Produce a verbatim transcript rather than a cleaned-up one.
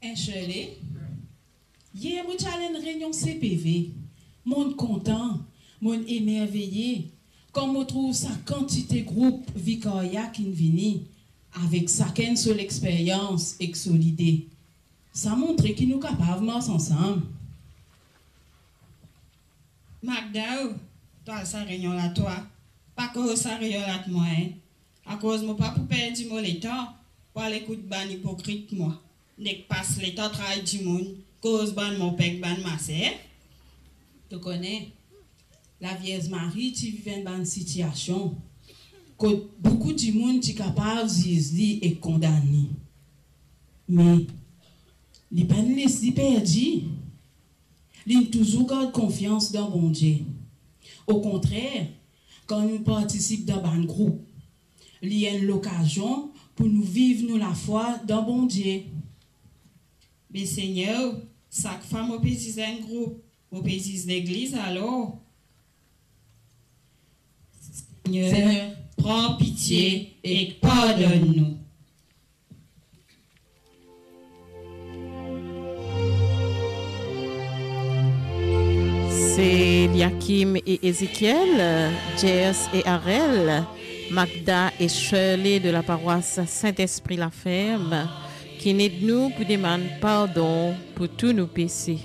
Shirley, yer mo ti al enn reynion C P V. Monn kontan, monn emerveye kan mo trouv sa kantite group vikarya ki'nn vini, avek sakenn so lexperyans ek so lide. Sa montre ki nou kapav mars ansam. Magda, twa al sa reynion la twa, pa koz sa reyol ak mwa, en. Akoz mo pa pou perdi mo letan pou al ekout bann ipokrit mwa, nek pas letan tray dimoun, koz bann monpek, bann maser. To kone, Lavierz Mari ti viv enn bann sitiasion kot boukou dimoun ti kapav ziz li ek kondann li. Me li pa'nn les li perdi. Li'nn touzour gard konfians dan Bondie. Okontrer, kan nou partisip dan bann group, li enn lokazion pou nou viv nou lafwa dan Bondie. Me Segner, sak fwa mo pe ziz enn group, mo pe ziz legliz alor? Segner, pran pitie ek pardonn nou. C'est Eliakim et Ézéchiel, Jers et Arel, Magda et Shirley de la paroisse Saint-Esprit La Ferme, qui aident nous pour demander pardon pour tous nos péchés.